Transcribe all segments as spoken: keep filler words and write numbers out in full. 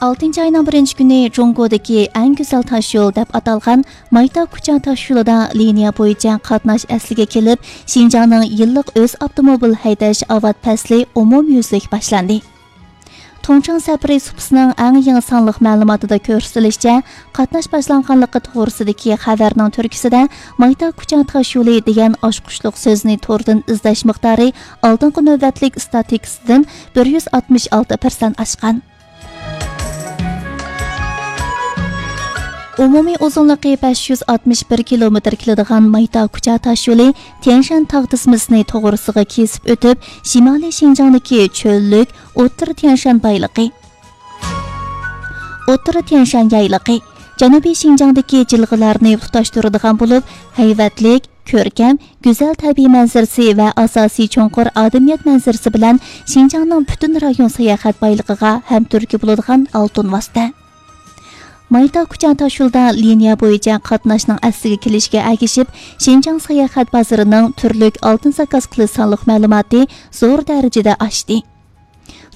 ئالتىنچى ئاينىڭ بىرىنچى كۈنى جۇڭگودىكى ئەڭ گۈزەل تاشيول دەپ ئاتالغان مايتا كۇچا تاشيولىدا لىنىيە بويىچە قاتناش ئەسلىگە كېلىپ، شىنجاڭنىڭ يىللىق ئۆز ئاپتوموبىل ھەيدەش ئاۋات پەسلى ئومۇميۈزلۈك باشلاندى. تۇڭچىڭ سەپىرى سۇپىسىنىڭ ئەڭ يېڭى سانلىق مەلۇماتىدا كۆرسىتىلىشىچە، قاتناش باشلانغانلىقى توغرىسىدىكى خەۋەرنىڭ تۈركىسىدە مايتا كۇچا تاشيولى دېگەن ئاچقۇچلۇق سۆزنى توردىن ئىزدەش مىقدارى ئالدىنقى نۆۋەتلىك ئىستاتىستىكىسىدىن بىر يۈز ئاتمىش ئالتە پىرسەنت ئاشقان. ئومۇمىي ئۇزۇنلۇقى بەش يۈز ئاتمىش بىر كىلومېتىر كېلىدىغان مايتا كۇچا تاشيولى تيەنشان تاغ تىزمىسىنى توغرىسىغا كېسىپ ئۆتۈپ، شىمالىي شىنجاڭدىكى چۆللۈك، ئوتتۇرا تيەنشان بايلىقى، ئوتتۇرا تيەنشان يايلىقى، جەنۇبىي شىنجاڭدىكى جىلغىلارنى تۇتاشتۇرىدىغان بولۇپ، ھەيۋەتلىك، كۆركەم، گۈزەل تەبىئىي مەنزىرىسى ۋە ئاساسىي چوڭقۇر ئادەمىيەت مەنزىرىسى بىلەن شىنجاڭنىڭ پۈتۈن رايون ساياھەت بايلىقىغا ھەم تۈرتكە بولىدىغان ئالتۇن ۋاسىتە. مايتا كۇچا تاشيولىدا لىنىيە بويىچە قاتناشنىڭ ئەسلىگە كېلىشىگە ئەگىشىپ، شىنجاڭ ساياھەت بازىرىنىڭ تۈرلۈك ئالتۇن زاكاز قىلىش سانلىق مەلۇماتى زور دەرىجىدە ئاشتى.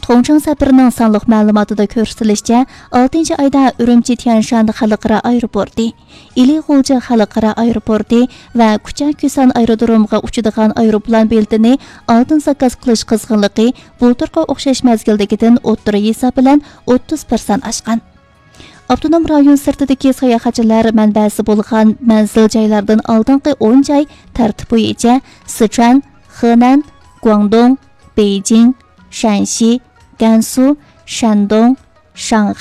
تۇڭچىڭ سەپىرىنىڭ سانلىق مەلۇماتىدا كۆرسىتىلىشىچە، ئالتىنچى ئايدا ئۈرۈمچى تيەنشان خەلقئارا ئايروپورتى، ئىلى غۇلجا خەلقئارا ئايروپورتى ۋە كۇچا كۈسان ئايرودرومىغا ئۇچىدىغان ئايروپىلان بېلىتىنى ئالتۇن زاكاز قىلىش قىزغىنلىقى بۇلتۇرقى ئوخشاش مەزگىلدىكىدىن ئوتتۇرا ھېساب بىلەن ئوتتۇز پىرسەنت ئاشقان. ئاپتونوم رايون سىرتىدىكى ساياھەتچىلەر مەنبەسى بولغان مەنزىل جايلاردىن ئالدىنقى ئون جاي تەرتىپ بويىچە سىچۈەن، خېنەن، گۇاڭدۇڭ، بېيجىڭ، شەنشى، گەنسۇ، شەندۇڭ، شاڭخەي،